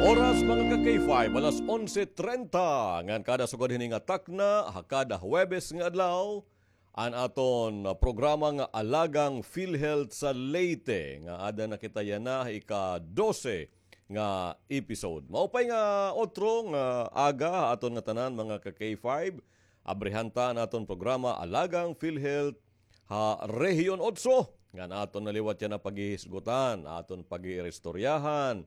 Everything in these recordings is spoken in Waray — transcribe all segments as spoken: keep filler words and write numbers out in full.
Oras, mga ka-K five, alas onse treinta. Ngan kada sugad hini nga takna, ha kada Huwebes nga adlaw, an aton, ah, programa nga Alagang PhilHealth sa Leyte, nga ada na kita yana ha ika-dose nga episode. Maupay nga otro nga aga ha aton ngatanan, mga ka-K five. Abrihan ta an aton programa Alagang PhilHealth ha Rehiyon Otso, ngan aton na liwat yana paghihisgutan, aton pag-iiristoryahan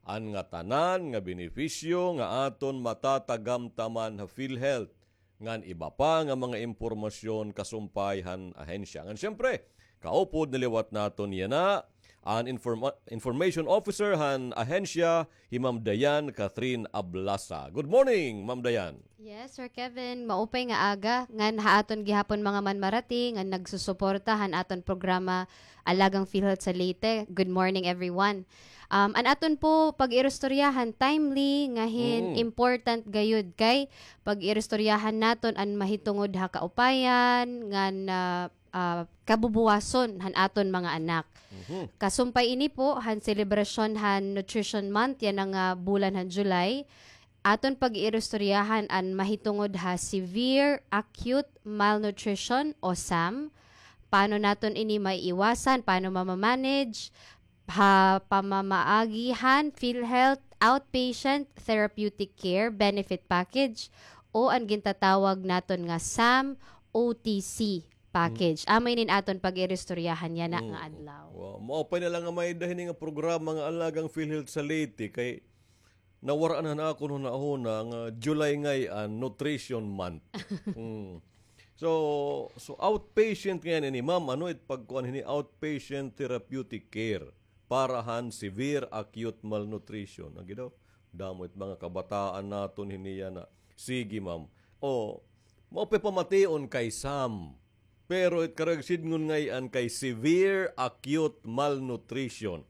an ngatanan nga benepisyo nga aton matatagamtaman ha PhilHealth, ngan iba pa nga mga impormasyon kasumpay han ahensya. Ngan siyempre, kaupod na liwat naton yana an informa-, information officer han ahensya, hi Ma'am Diane Catherine Ablasa. Good morning, Ma'am Diane. Yes, Sir Kevin. Maupay nga aga ngan ha aton gihapon mga manmarati nga nagsusuporta han aton programa Alagang PhilHealth sa Leyte. Good morning, everyone. Um, an aton po pag-iristoryahan, timely nga hin Mm. important gayud kay pag-iristoryahan naton an mahitungod ha kaupayan ngan, ah, ah, kabubuwason han aton mga anak. Mhm. Kasumpay ini po han selebrasyon han Nutrition Month yana nga bulan han July, aton pag-iiristoryahan an mahitungod ha severe acute malnutrition o SAM. Paano naton ini maiiwasan? Paano mamamanage? Ha pamamaagi han PhilHealth Outpatient Therapeutic Care Benefit Package o an gintatawag naton nga SAM O T C package. Mm. Amo inin aton pag-iristoryahan yana Mm. nga adlaw. Wow. Maupay na la nga may-ada hini nga programa nga Alagang PhilHealth sa Leyte kay nawar-an han akon hunahuna nga July ngay-an, Nutrition Month. Mm. So, so outpatient ngay-an ini, ma'am, ano it pagkuan hini, outpatient therapeutic care para han severe acute malnutrition. Agi daw, damo it mga kabataan naton hini yana. Sige, ma'am. O, maupay pamation kay SAM. Pero it karuyag sidngon ngay-an kay severe acute malnutrition.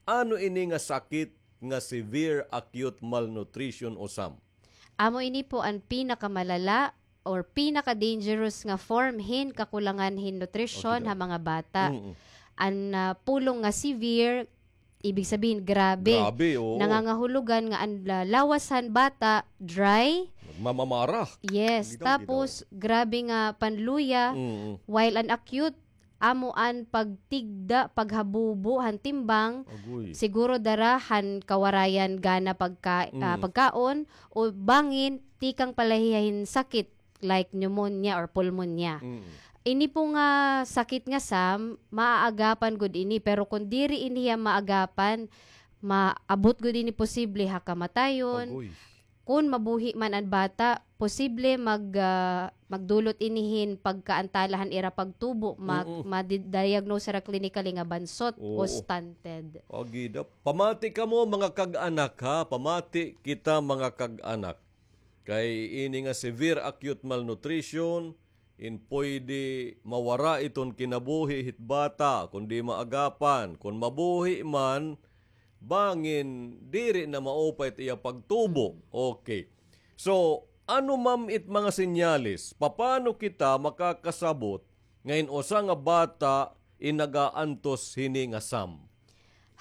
Ano ini nga sakit nga severe acute malnutrition o SAM? Amo ini po an pinakamalala or pinaka-dangerous nga form hin kakulangan hin nutrisyon Okay, ha mga bata. Mm-mm. An, ah, pulong nga severe, ibig sabihin, grabe. Grabe, oo. Nangangahulugan nga an la-, lawas han bata, dry. Mamamara. Yes, Bitaw, tapos, bitaw. grabe nga panluya, Mm-mm. while an acute, amo an pagtigda, paghabubo han timbang, Agoy. siguro dara han kawarayan gana pagka-, ah, Mm. pagkaon, o bangin, tikang palahiya hin sakit, like pneumonia or pulmonya. Mm. Ini po nga sakit nga SAM, maaagapan gud ini, pero kon diri ini hiya maagapan, maabot gud ini posible ha kamatayon. Agoy. Kon mabuhi man an bata, posible mag-, ah, magdulot ini hin pagkaantala han ira pagtubo, mag-, Mm-mm. madi-diagnose hira clinically nga bansot o Oo. stunted. Agi daw. Pamati kamo, mga kag-anak, ha? Pamati kita, mga kag-anak. Kay ini nga severe acute malnutrition, in pwede mawara iton kinabuhi hit bata, kon di maagapan, kon mabuhi man, bangin diri na maupay it iya pagtubo. Okay. So, ano, ma'am, it mga senyales? Papano kita makakasabot nga in usa nga bata in nagaantos hini nga SAM?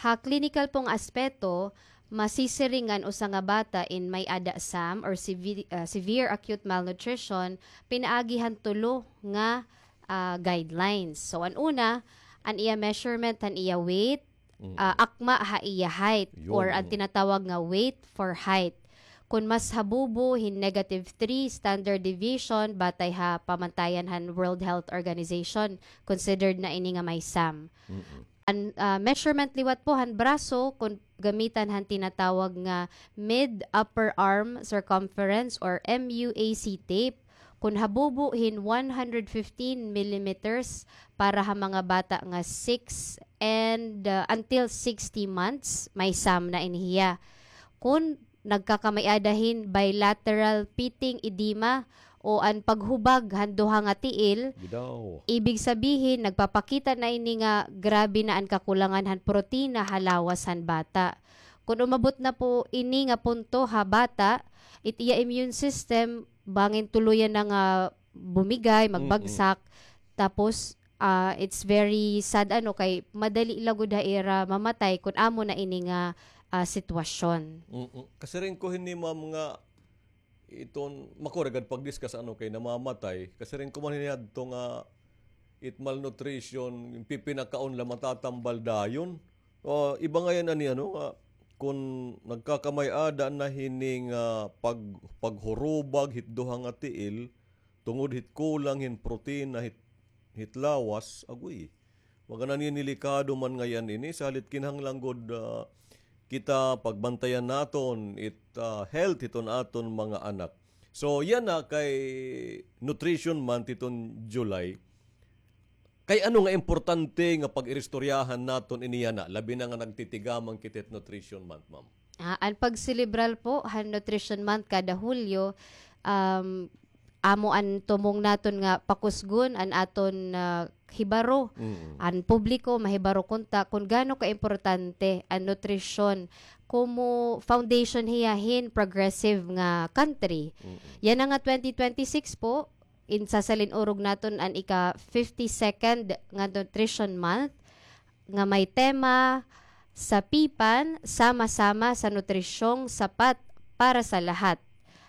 Ha klinikal pong aspeto, masisiring nga an usa nga bata in may-ada SAM or sevi-, ah, severe acute malnutrition, pinaagi han tulo nga, ah, guidelines. So, an una, an iya measurement han iya weight, Mm. ah, akma ha iya height, Yun. or an tinatawag nga weight for height. Kon mas habubo hin negative three standard deviation, batay ha pamantayan han World Health Organization, considered na ini nga may SAM. Mm-mm. An, ah, measurement liwat po han braso, kon gamitan han tinatawag nga mid-upper arm circumference or M U A C tape, kon habubo hin one hundred fifteen millimeters para ha mga bata nga six and, ah, until sixty months, may SAM na ini hiya. Kon nagkakamay-ada hin bilateral pitting edema o an paghubag han duha nga tiil. Gidaw. Ibig sabihin, nagpapakita na ini nga grabe na an kakulangan han protina ha lawas han bata. Kon umabot na po ini nga punto ha bata, it iya immune system, bangin tuloyan na nga bumigay, Mm-mm. magbagsak, tapos ah, it's very sad, ano, kay madali la gud ha ira mamatay kon amo na ini nga, ah, sitwasyon. Mm-mm. Kasiring ko hini, ma'am, nga iton, makuragad pag-discuss ano kay namamatay. Kasiring ko man hini adto nga it malnutrition, pipinakaon la matatambal dayon. Ah, iba ngay-an ani, ano, nga kun nagkakamay-ada na hini nga pag-, paghurubag hit duha nga tiil, tungod hit kulang hin protina hit, hit lawas, agoy. Mga naninilikado man ngay-an ini, salit kinahanglan gud, ah, kita pagbantayan naton it, ah, health hiton aton mga anak. So, yana kay Nutrition Month hiton July. Kay ano nga importante nga pag-iristoryahan naton ini yana, labi na nga nagtitigaman kita hit Nutrition Month, ma'am? Ah, an pagselebrar po han Nutrition Month kada Hulyo, um, amo an tumong naton nga pakusgon an aton, ah, hibaro, Mm. an publiko mahibaro kunta kun gaano kaimportante an nutrisyon komo foundation hiya hin progressive nga country. Mm. Yana nga twenty twenty-six po, in sasalin-urog naton an ika-fifty-second nga Nutrition Month, nga may tema, "Sa Pipan, sama-sama sa nutrisyong sapat para sa lahat."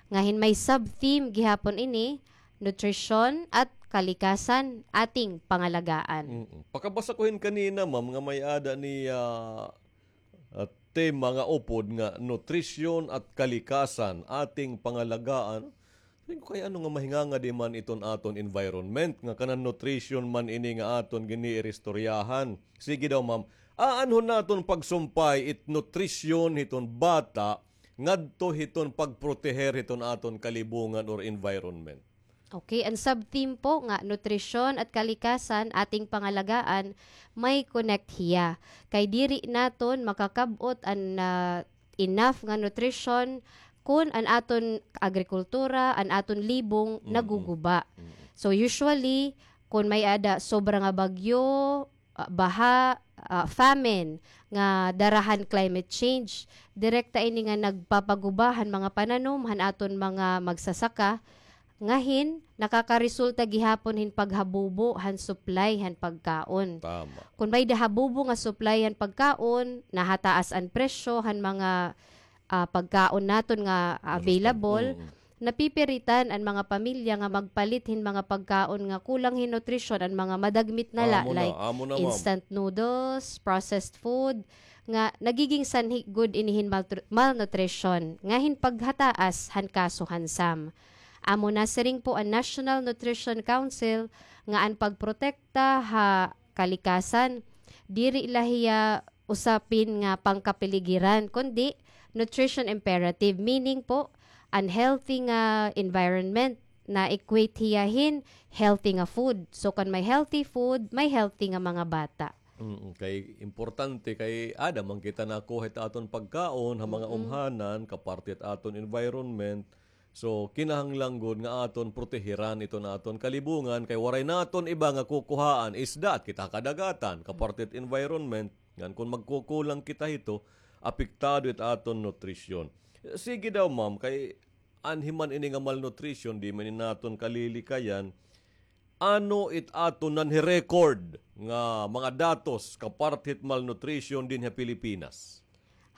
Nga hin may sub-theme gihapon ini, "Nutrisyon at kalikasan, ating pangalagaan." Mm-mm. Pakabasa ko hin kanina, ma'am, nga may-ada ni, ah, ah, tema nga upod nga nutrisyon at kalikasan, ating pangalagaan. Sabi ko, kay ano nga mahingangadi man iton aton environment, nga kanan nutrition man ini nga aton giniiristoryahan. Sige daw, ma'am. Aanhon naton pagsumpay it nutrition hiton bata ngadto hiton pagproteher hiton aton kalibungan or environment. Okay, an sub-theme po nga nutrisyon at kalikasan, ating pangalagaan, may connect hiya. Kay diri naton makakab-ot an, ah, enough nga nutrition kun an aton agrikultura, an aton libong Mm-mm. naguguba. Mm-mm. So usually, kun may-ada sobra nga bagyo, ah, baha, ah, famine nga dara han climate change, direkta ini nga nagpapaguba han mga pananom han aton mga magsasaka, nga hin nakakaresulta gihapon hin paghabubo han supply han pagkaon. Tama. Kun may-ada habubo nga supply han pagkaon, nahataas an presyo han mga, ah, pagkaon naton nga available, Mm. napipiritan an mga pamilya nga magpalit hin mga pagkaon nga kulang hin nutrisyon, an mga madagmit na la, Amo na, like amo na, ma'am. instant noodles, processed food, nga nagiging sanhi gud ini hin maltru-, malnutrition, nga hin paghataas han kaso han SAM. Amo na siring po an National Nutrition Council nga an pagprotekta ha kalikasan, diri la hiya usapin nga pangkapiligiran, kundi nutrition imperative, meaning po, an healthy nga environment, na-equate hiya hin healthy nga food. So, kun may healthy food, may healthy nga mga bata. Mm, kay importante, kay aada man kita nakuha it aton pagkaon ha mga Mm-mm. umhanan, kaparte it aton environment. So, kinahanglan gud nga aton protehiran iton aton kalibungan, kay waray naton iba nga kukuhaan, isda, at kita kadagatan, kaparte it environment. Ngan kun magkukulang kita hito, apektado it aton nutrisyon. Sige daw, ma'am, kay anhi man ini nga malnutrition, di man ini naton kalilikayan. Ano it aton nanhi-record nga mga datos kaparte hit malnutrition dinhi ha Pilipinas?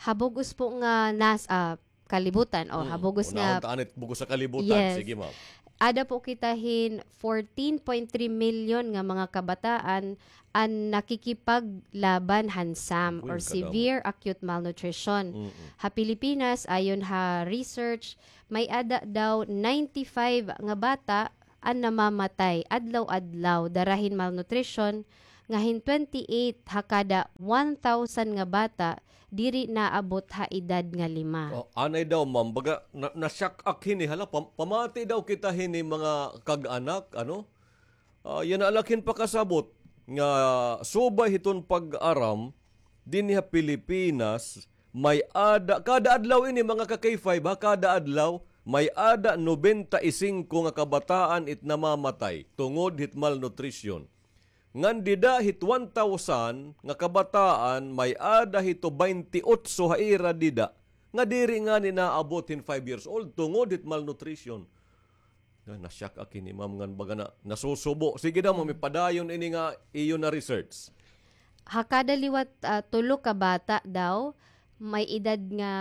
Ha bug-os po nga nas-, ah, kalibutan, o ha Mm. bug-os nga Unahon ta anit bug-os sa kalibutan. Yes. Sige, ma'am. Ada po kita hin fourteen point three million nga mga kabataan an nakikipaglaban han SAM Uy, or kadamo. severe acute malnutrition. Mm-mm. Ha Pilipinas, ayon ha research, may-ada daw ninety-five nga bata an namamatay adlaw-adlaw dara hin malnutrition, nga hin twenty-eight ha kada one thousand nga bata diri naabot ha edad nga lima. Oh, anay daw, ma'am, baga, na, na-shock ak hini, hala, pam-, pamati daw kita hini mga kag-anak, ano? Ah, yana la ak hin pakasabot nga subay hiton pag-aram, dinhi ha Pilipinas, may-ada, kada adlaw ini, mga ka-K five, ha, kada adlaw, may-ada nobenta y singko nga kabataan it namamatay tungod hit malnutrition. Ngan dida hit one thousand nga kabataan, may-ada hito baynte otso ha ira dida nga diri ngani naabot hin five years old tungod hit malnutrition. Na, na-shock ak hini, ma'am, ngan baga na, nasusubo. Sige daw, ma'am, ipadayon ini nga iyo na-research. Ha kada liwat, ah, tulo ka bata daw, may edad nga,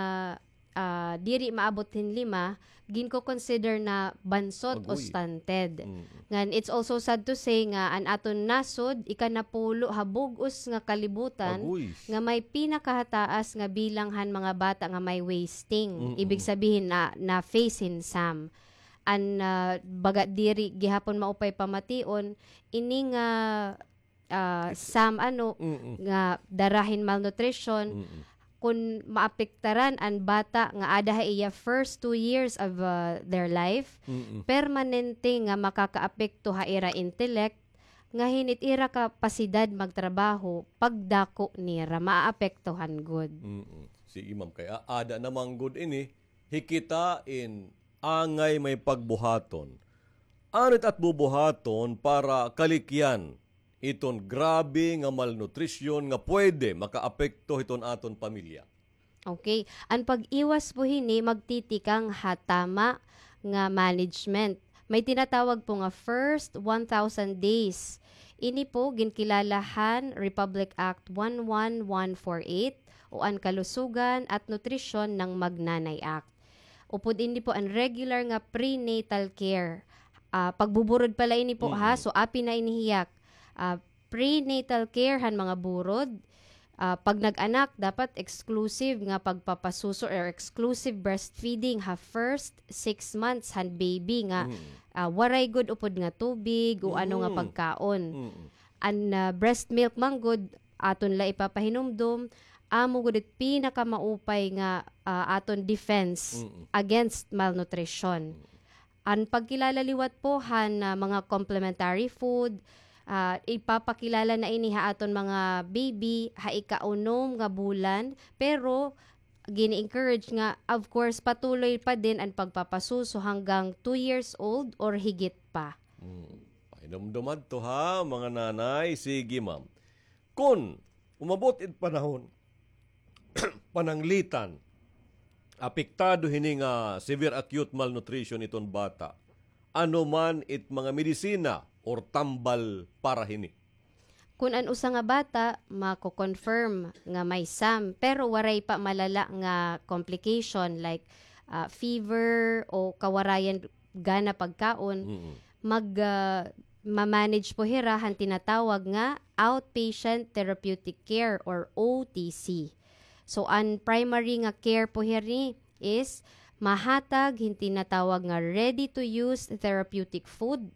ah, diri maabot hin lima, ginko-consider na bansot o Agoy. stunted. Mm. Ngan, it's also sad to say nga an aton nasod, ikanapulo ha bug-os nga kalibutan, Agoy. nga may pinakahataas nga bilang han mga bata nga may wasting. Mm-mm. Ibig sabihin na, na-face hin SAM. An, ah, baga diri gihapon maupay pamation, ini nga ah, SAM ano, Mm-mm. nga dara hin malnutrition, Mm-mm. kun maapektaran an bata nga ada ha iya first two years of, ah, their life, Mm-mm. permanente nga makakaapekto ha ira intellect, nga hin it ira kapasidad magtrabaho, pagdako nira, maapektuhan gud. Mm-mm. Sige, ma'am. Kay a-, ada na man gud ini, hi kita in angay may pagbuhaton. Ano it at bubuhaton para kalikyan iton grabe nga malnutrisyon nga pwede makaapekto hiton aton pamilya? Okay. An pag-iwas po hini magtitikang ha tama nga management. May tinatawag po nga first one thousand days. Ini po ginkilala han Republic Act one one one four eight o an Kalusugan at Nutrisyon ng Magnanay Act. Upod ini po an regular nga prenatal care. Ah, pagbuburod pala ini po, ha? Mm-mm. So, apin na ini hiya. Ah, prenatal care han mga burod. Ah, pag nag-anak, dapat exclusive nga pagpapasuso or exclusive breastfeeding ha first six months han baby nga, Mm. ah, waray gud upod nga tubig o ano nga Mm. pagkaon. Mm-mm. An, ah, breast milk man gud, aton la ipapahinumdom, amo gud it pinakamaupay nga, ah, aton defense Mm-mm. against malnutrition. Mm. An pagkilala liwat po han, ah, mga complementary food, ah, ipapakilala na ini ha aton mga baby ha ikaunom nga bulan, pero gini-encourage nga, of course, patuloy pa din an pagpapasuso hanggang two years old or higit pa. Mm. Pahinumdom adto ha, mga nanay. Sige, ma'am. Kun umabot it panahon, pananglitan, apektado hini nga severe acute malnutrition iton bata, ano man it mga medisina or tambal para hini? Kun an usa nga bata mako-confirm nga may SAM, pero waray pa malala nga complication like, ah, fever o kawarayan gana pagkaon, Mm-mm. mag, ah, ma-manage po hira han tinatawag nga outpatient therapeutic care or O T C. So, an primary nga care po hiri is mahatag hin tinatawag nga ready-to-use therapeutic food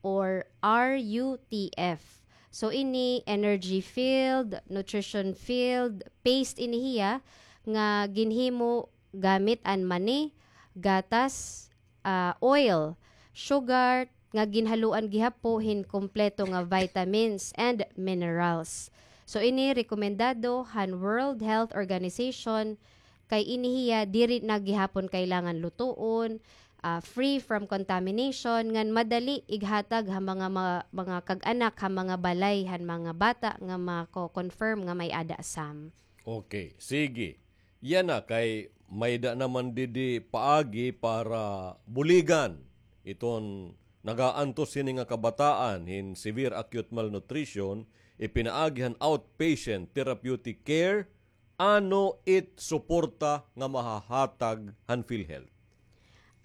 or R U T F. So, ini energy filled, nutrition filled, paste ini hiya nga ginhimo gamit an mani, gatas, ah, oil, sugar, nga ginhaluan gihap po hin kompleto nga vitamins and minerals. So, ini rekomendado han World Health Organization kay ini hiya diri na gihapon kailangan lutuon, ah, free from contamination, ngan madali ighatag ha mga, mga, mga kag-anak ha mga balay han mga bata nga mako-confirm nga may ada SAM. Okay, sige. Yana kay may-ada naman didi paagi para buligan iton nagaantos hini nga kabataan hin severe acute malnutrition, ipinaagi han outpatient therapeutic care, ano it suporta nga mahahatag han PhilHealth?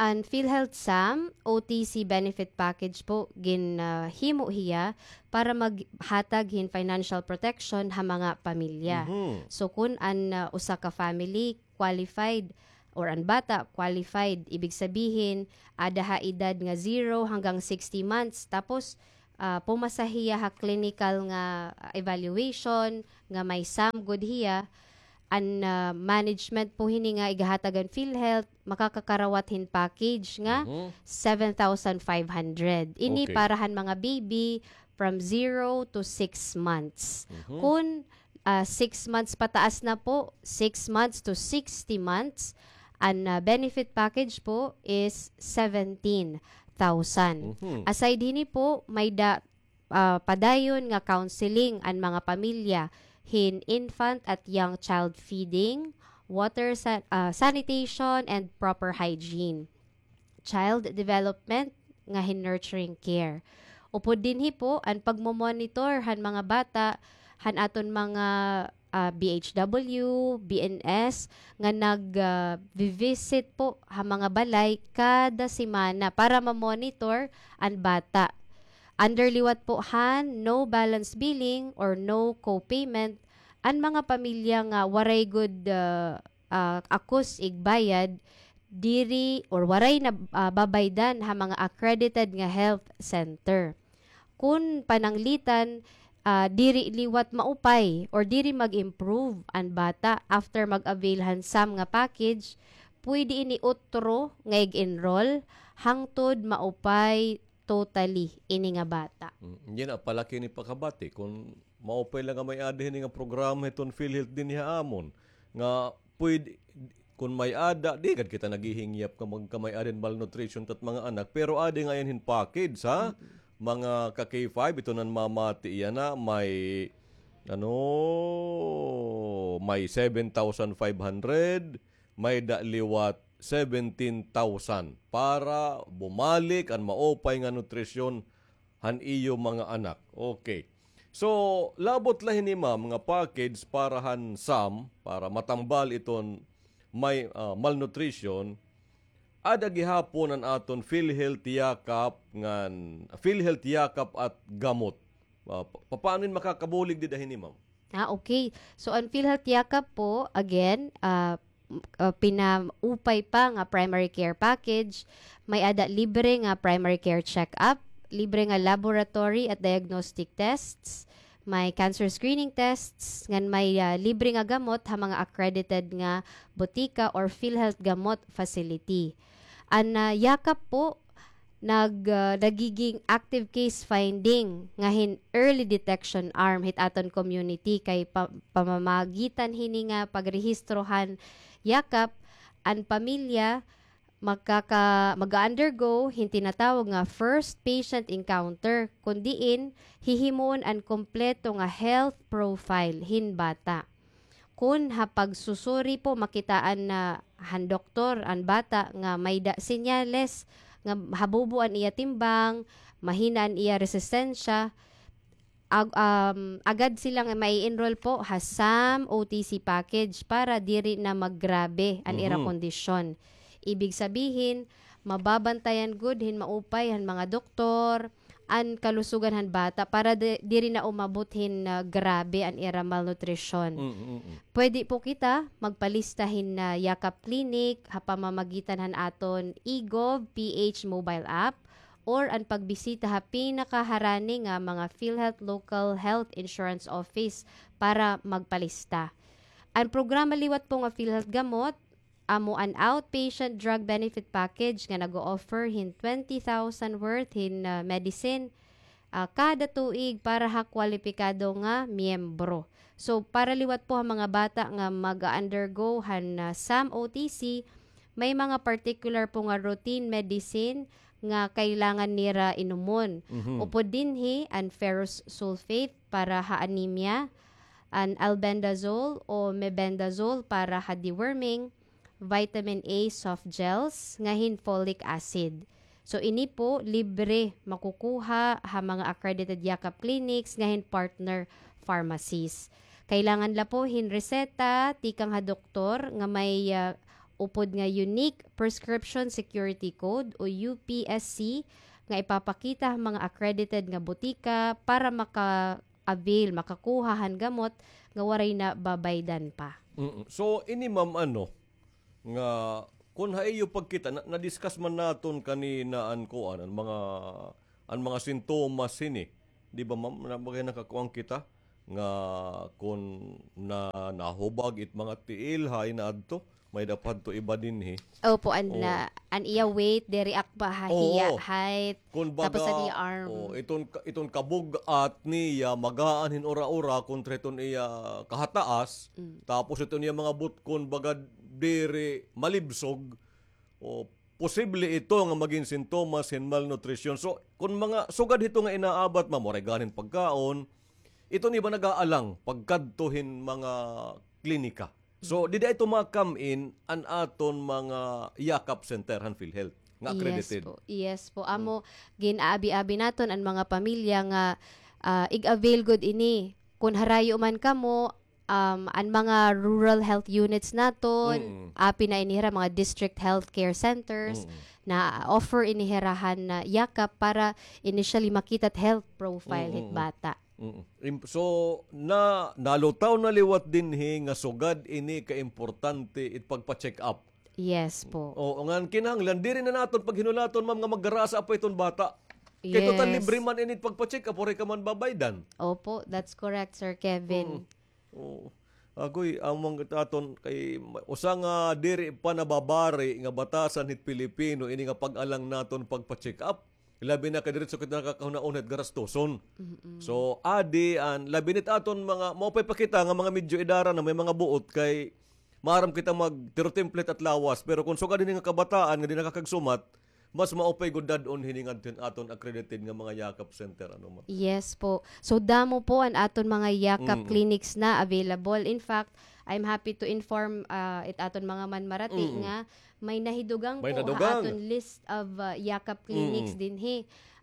An PhilHealth SAM, O T C benefit package po, gin, ah, himo hiya para maghatag hin financial protection ha mga pamilya. Mhm. So, kun an, ah, usa ka family qualified or an bata qualified, ibig sabihin, ada ha edad nga zero hanggang sixty months, tapos, ah, pumasa hiya ha clinical nga, ah, evaluation, nga may SAM gud hiya, an, ah, management po hini nga igahatag an PhilHealth, makakakarawat hin package nga Mhm. seven thousand five hundred. Ini Okay. para han mga baby from zero to six months. Mhm. Kun, ah, six months pataas na po, six months to sixty months, an, ah, benefit package po is seventeen thousand. Mhm. Aside hini po, may-ada ah, padayon nga counseling an mga pamilya hin infant at young child feeding, water sa-, ah, sanitation, and proper hygiene, child development nga hin nurturing care. Upod dinhi po an pagmo-monitor han mga bata han aton mga ah, B H W, B N S, nga nag, ah, visit po ha mga balay kada semana para ma-monitor an bata. Under liwat po han no balance billing or no co-payment, an mga pamilya nga waray gud, ah, ah, akus igbayad, diri or waray na, ah, babaydan ha mga accredited nga health center. Kun pananglitan, ah, diri liwat maupay or diri mag-improve an bata after mag-avail han SAM nga package, pwede ini utro nga ig-enroll hangtod maupay totally ini nga bata. Mm, yun na, palaki ni pakabati. Kun maupay la nga may-ada hini nga programa hiton PhilHealth dinhi ha amon, nga pwede, kun may-ada, di gad kita naghihingyap nga magkamay-ada hin malnutrition tat mga anak, pero adi ngay-an hin package, ha? Mm-mm. Mga ka-K five, ito nan mamati iya na, may, ano, may seven thousand five hundred, may-ada liwat seventeen thousand para bumalik an maupay nga nutrisyon han iyo mga anak. Okay. So, labot la hini, ma'am, nga package para han SAM, para matambal iton may, ah, malnutrition, ada gihapon an aton PhilHealth Yakap ngan, PhilHealth Yakap at Gamot. Ah, pa-, papaano in makakabulig dida hini, ma'am? Ah, okay. So, an PhilHealth Yakap po, again, ah, m-, ah, pinaupay pa nga primary care package, may-ada libre nga primary care check-up, libre nga laboratory at diagnostic tests, may cancer screening tests, ngan may, ah, libre nga gamot ha mga accredited nga botika or PhilHealth Gamot facility. An, ah, Yakap po, nag, ah, nagiging active case finding nga hin early detection arm hit aton community kay pa-, pamamagitan hini nga pagrehistro han Yakap, an pamilya makaka-, mag-undergo hin tinatawag nga first patient encounter, kun diin hihimuon an kompleto nga health profile hin bata. Kun ha pagsusuri po, makitaan na han doktor an bata nga may-ada senyales nga habubo an iya timbang, mahina an iya resistensya, ag-, um, agad sila nga mai-enroll po ha SAM O T C package para diri na maggrabe an ira kondisyon. Ibig sabihin, mababantayan gud hin maupay han mga doktor an kalusugan han bata para di-, diri na umabot hin, ah, grabe an ira malnutrisyon. Mm, mm, mm. Pwede po kita magpalista hin, ah, Yakap Clinic ha pamamagitan han aton eGov P H mobile app or an pagbisita ha pinakaharani nga mga PhilHealth Local Health Insurance Office para magpalista. An programa liwat po nga PhilHealth Gamot, amo an outpatient drug benefit package nga nag-o-offer hin twenty thousand worth hin, ah, medicine, ah, kada tuig para ha kwalipikado nga miyembro. So, para liwat po ha mga bata nga mag-undergo han, ah, SAM O T C, may mga particular po nga routine medicine nga kailangan nira inumon. Mhm. Upod dinhi, an ferrous sulfate para ha anemia, an albendazole o mebendazole para ha deworming, vitamin A soft gels, nga hin folic acid. So, ini po, libre makukuha ha mga accredited Yakap clinics nga hin partner pharmacies. Kailangan la po hin reseta tikang ha doktor nga may, ah, upod nga Unique Prescription Security Code o U P S C nga ipapakita ha mga accredited nga botika para maka-avail, makakuha han gamot nga waray na babaydan pa. Mm. So, ini, ma'am, ano, nga kun ha iyo pagkita, na, na-discuss man naton kanina an kuan, an mga, an mga sintomas hini. Di ba, ma'am, na, bagay nakakuan kita nga kun na, nahubag it mga tiil, ha, inaadto, may dapat to iba dinhi. Opo, an, oo, la, an iya weight, diri akba ha, oo, hiya, height, kun baga, tapos an iya arm. Oo, iton ka-, iton kabug-at niya, magaan hin ura-ura, kontra iton iya kahataas, mm, tapos iton iya mga butkon, baga diri malibsog, o posible ito nga magin sintomas hin malnutrisyon. So, kun mga sugad hito nga inaabat, ma'am, waray gani hin pagkaon, iton iba nag-aalang pagkadto hin mga klinika. So, dida ito ma-come in an aton mga Yakap Center han PhilHealth nga accredited. Yes po. Yes po. Mm. Amo, gin-aabi-abi naton an mga pamilya nga, ah, ig-avail gud ini. Kun harayo man kamo, Um, an mga rural health units naton, Mm. api na ini hira, mga district healthcare centers, Mm. na-offer ini hira han, ah, Yakap para initially makita it health profile Mm, hit mm, mm. bata. Mm. Im-, so, na, nalutaw na liwat dinhi nga sugad ini kaimportante it pagpa-check up. Yes po. Oo, ngan kinahanglan, diri na naton paghinulaton, ma'am, nga maggarasa pa iton bata. Kay total Yes. libre man ini pagpa-check up, waray ka man babaydan. Opo, that's correct, Sir Kevin. Mm. Oo. Agoy, among aton kay ma-, usa nga diri pa nababari nga batasan hit Pilipino ini nga pag-alang naton pagpa-check up. Labi na kay diretso kita nakakahunaon hit garastuson. Mm-mm. So, adi an labi nit aton mga, maupay pa kita nga mga medyo idara na may mga buot kay maaram kita magtirotemple hit lawas, pero kon sugad hini nga kabataan nga di nakakagsumat, mas maupay gud dad-on hini ngadto hin aton accredited nga mga Yakap center, ano, ma'am? Yes po. So, damo po an aton mga Yakap Mm. clinics na available. In fact, I'm happy to inform, ah, it aton mga manmarati Mm. nga may nahidugang May po nadugang. ha aton list of, ah, Yakap clinics Mm. dinhi.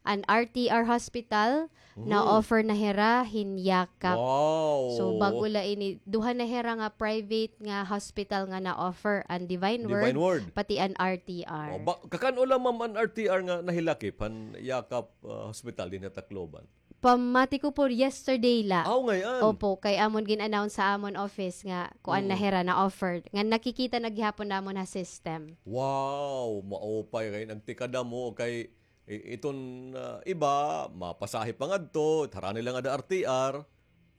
An R T R Hospital, Mhm. na-offer na hira hin Yakap. Wow. So, bag-o la ini, duha na hira nga private nga hospital nga na-offer, an Divine Divine Word, Word. pati an R T R. Oh, ba-, kakan-o la, ma'am, an R T R nga nahilakip han Yakap, ah, Hospital dinhi ha Tacloban? Pamati ko po, yesterday la. Aw, ngay-an. Opo, kay amon gin-announce sa amon office nga kuan na Mm. hira, na-offer. Nga nakikita na gihapon namon ha system. Wow, maupay kay nagtikada mo kay I-, iton, ah, iba, mapasahe pa ngadto, harani la ngada R T R.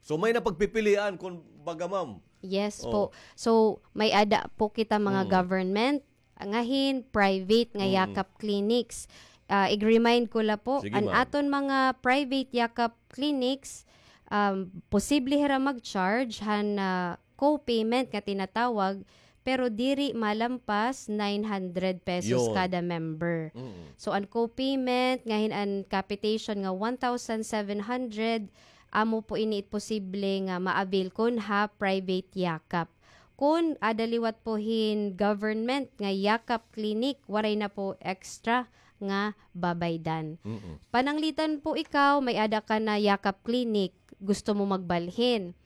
So, may napagpipilian, kun baga, ma'am. Yes Oh. po. So, may-ada po kita mga Mm. government, ngahin private nga Mm. Yakap clinics. Ah, ig-remind ko la po, Sige, an ma'am. aton mga private Yakap clinics, um, posible hira mag-charge han, ah, co-payment nga tinatawag, pero diri malampas nine hundred pesos Yun. kada member. Mm. So, an co-payment, ngahin an capitation nga one thousand seven hundred, amo po ini it posible nga ma-avail kon ha private Yakap. Kon ada liwat po hin government nga Yakap clinic, waray na po extra nga babaydan. Mm-mm. Pananglitan po ikaw, may-ada ka na Yakap clinic, gusto mo magbalhin.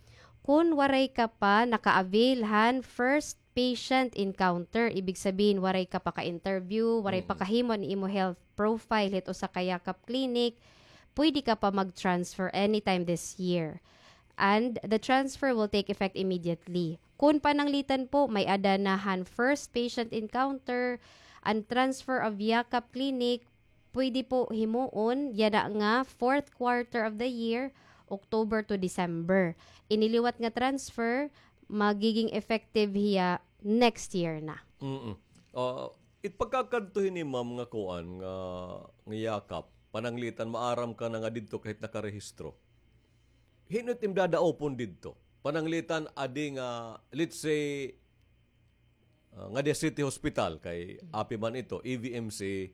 Kun waray ka pa naka-avail han first patient encounter, ibig sabihin, waray ka pa ka-interview, waray pa Mm. kahimo an imo health profile hit usa ka Yakap clinic, pwede ka pa mag-transfer anytime this year. And the transfer will take effect immediately. Kun pananglitan po, may-ada na han first patient encounter, an transfer of Yakap clinic, pwede po himuon yana nga fourth quarter of the year, October to December. Ini liwat nga transfer, magiging effective hiya next year na. Mm-mm. Ah, it pagkakadto hini, ma'am, nga kuan, nga, nga Yakap, pananglitan, maaram ka na nga didto kahit nakarehistro. Hin-o it im dadaopon didto? Pananglitan, adi nga, let's say, ah, ngadi ha City Hospital, kay api man ito, E V M C,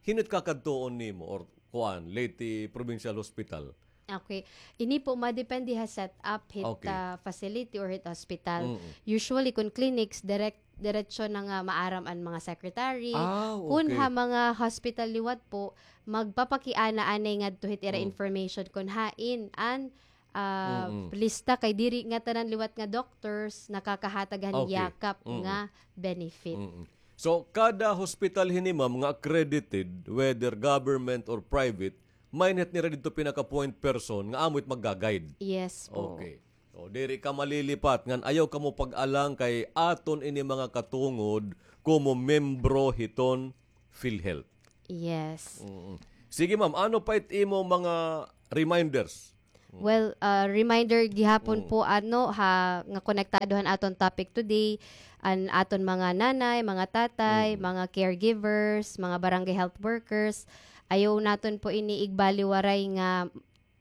hin-o it kakadtuon nimo or kuan, Leyte Provincial Hospital? Okay. Ini po madepende ha setup hit, Okay. ah, facility or hit hospital. Mm-mm. Usually, kun clinics, direct, diretso na nga maaram an mga secretary. Ah, Kun okay. ha mga hospital liwat po, magpapakiana anay ngadto hit ira Mm. information kun hain an, ah, Mm-mm. lista, kay diri ngatanan liwat nga doctors nakakahatag han Okay. Yakap Mm-mm. nga benefit. Mm-mm. So, kada hospital hini, ma'am, nga accredited, whether government or private, may-ada hira didto pinaka-point person nga amo it magga-guide. Yes po. Okay. So, diri ka malilipat ngan ayaw kamo pag-alang kay aton ini mga katungod komo membro hiton PhilHealth. Yes. Mm. Sige, ma'am, ano pa it imo mga reminders? Mm. Well, ah, reminder gihapon Mm. po, ano, ha, nga konektado han aton topic today, an aton mga nanay, mga tatay, Mm. mga caregivers, mga barangay health workers, ayaw naton po ini igbaliwaray nga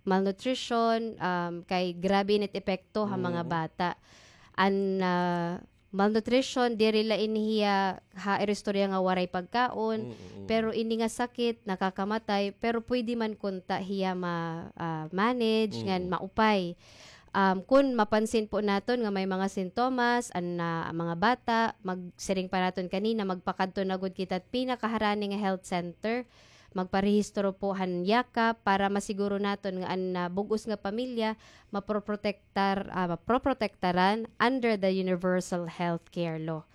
malnutrition, um, kay grabe ini it epekto ha mga Mm. bata. An, ah, malnutrition, diri la ini hiya ha iristorya nga waray pagkaon, Mm, mm, mm. pero ini nga sakit, nakakamatay, pero pwede man kunta hiya ma-, ah, manage, Mm. ngan maupay. Um, kun mapansin po naton nga may mga sintomas, an, ah, mga bata, magsiring pa naton kanina, magpakadto na gud kita pinakaharani nga health center, magparehistro po han yakap para masiguro naton nga an, ah, bug-os nga pamilya maproprotektar, ah, maproprotektaran under the Universal Healthcare Law.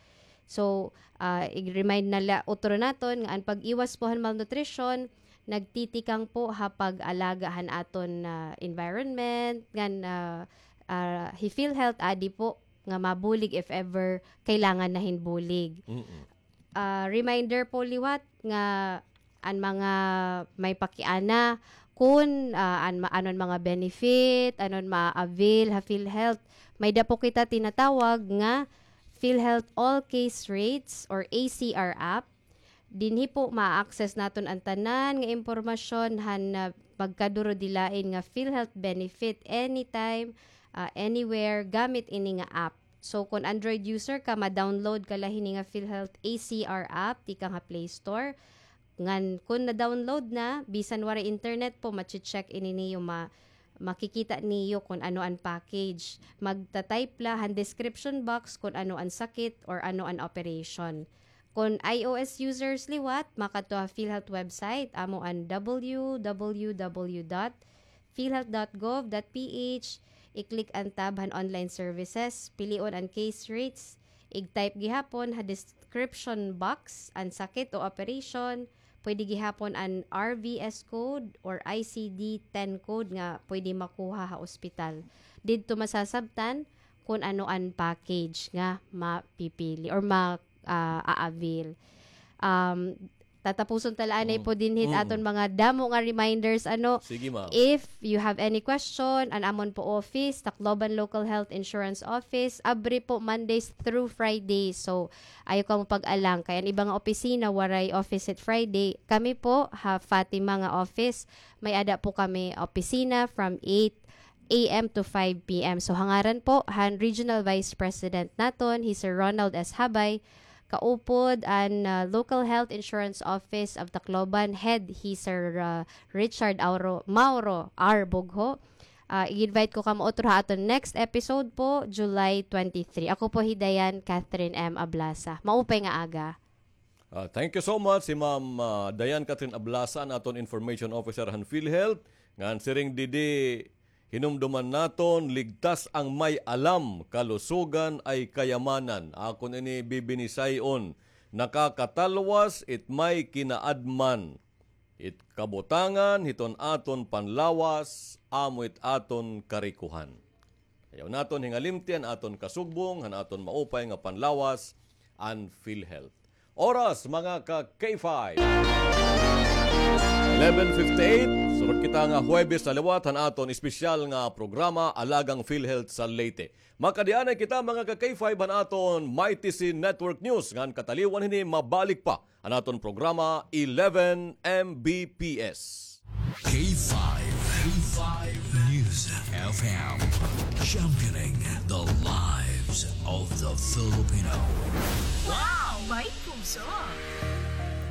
So, ah, i-remind na la utro naton nga an pag-iwas po han malnutrition nagtitikang po ha pag-alaga han aton, ah, environment, ngan, ah, ah, hi PhilHealth adi po nga mabulig if ever kailangan na hin bulig. Mm-mm. Ah, reminder po liwat nga an mga may pakiana kun, ah, an ma-, anon mga benefit, anon ma-avail ha PhilHealth. May-ada po kita tinatawag nga PhilHealth All Case Rates or A C R app. Dinhi po ma-access naton an tanan nga impormasyon han, ah, pagkaduro-dilain nga PhilHealth benefit anytime, ah, anywhere gamit ini nga app. So, kun Android user ka, ma-download ka la hini nga PhilHealth A C R app tikang ha Play Store. Ngan kun na-download na, bisan waray internet po, mache-check ini niyo, ma-, makikita niyo kun ano an package. Magta-type la han description box kun ano an sakit or ano an operation. Kun iOS users liwat, makadto ha PhilHealth website, amo an W W W dot philhealth dot gov dot P H, i-click an tab han online services, pilion an case rates, ig-type gihapon ha description box an sakit o operation, pwede gihapon an R V S code or I C D ten code nga pwede makuha ha ospital. Didto masasabtan kun ano an package nga mapipili or ma-, ah, a-avail. Um, tatapuson ta la anay po dinhi it aton mga damo nga reminders, ano. Sige, ma'am. If you have any question, an amon po office, Tacloban Local Health Insurance Office, abri po Mondays through Fridays. So, ayaw kamo pag-alang. Kay an iba nga opisina, waray office it Friday. Kami po, ha Fatima nga office, may-ada po kami opisina from eight A M to five P M. So, ha ngaran po han Regional Vice President naton, hi Sir Ronald S. Habay, kaupod an, ah, Local Health Insurance Office of Tacloban, head hi Sir, ah, Richard Auro-, Mauro R. Bugho. Ah, i-invite ko kamo utro ha aton next episode po, July twenty-three. Ako po hi Dayan Catherine M. Ablasa. Maupay nga aga. Ah, thank you so much, hi Ma'am, ah, Dayan Catherine Ablasa, an aton information officer han PhilHealth. Ngan siring didi, hinumduman naton, ligtas ang may alam, kalusugan ay kayamanan. Akon ini bibinisay-on, nakakatalwas it may kinaadman. It kabutangan hiton aton panlawas, amo it aton karikohan. Ayaw naton hingalimti an aton kasugbong han aton maupay nga panlawas, an PhilHealth. Oras, mga ka-K five. Eleven fifty-eight, surot kita nga Huwebes na liwat han aton espesyal nga programa, Alagang PhilHealth sa Leyte. Makadianay kita, mga ka-K five, han aton Mighty C Network News, ngan kataliwan hini mabalik pa an aton programa, eleven M B P S. K five, K five News F M, championing the lives of the Filipino. Wow! May puso!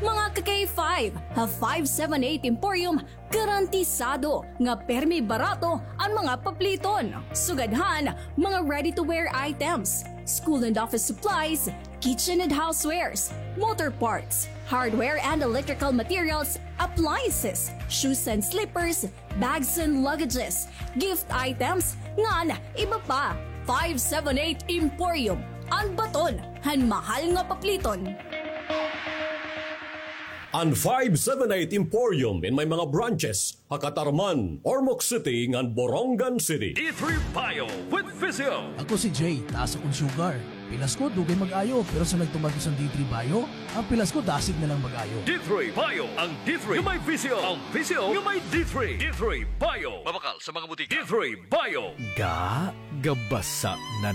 Mga ka-K five, ha five seven eight Emporium, garantisado nga permi barato an mga papliton. Sugad han mga ready-to-wear items, school and office supplies, kitchen and housewares, motor parts, hardware and electrical materials, appliances, shoes and slippers, bags and luggages, gift items, ngan iba pa. Five seven eight Emporium, an baton han mahal nga papliton. An five seven eight Emporium in may mga branches ha Catarman, Ormoc City, ngan Borongan City. D three Bio with Physio. Ako si Jay, taas akon sugar. Pilas ko, dugay mag-ayo, pero sa nagtuman ko sa D three Bio, ang pilas ko, dasig na lang mag-ayo. D three Bio, ang D three nga may Physio, ang Physio nga may D three. D three Bio. Mabakal sa mga butika. D three Bio. Ga, gabasa na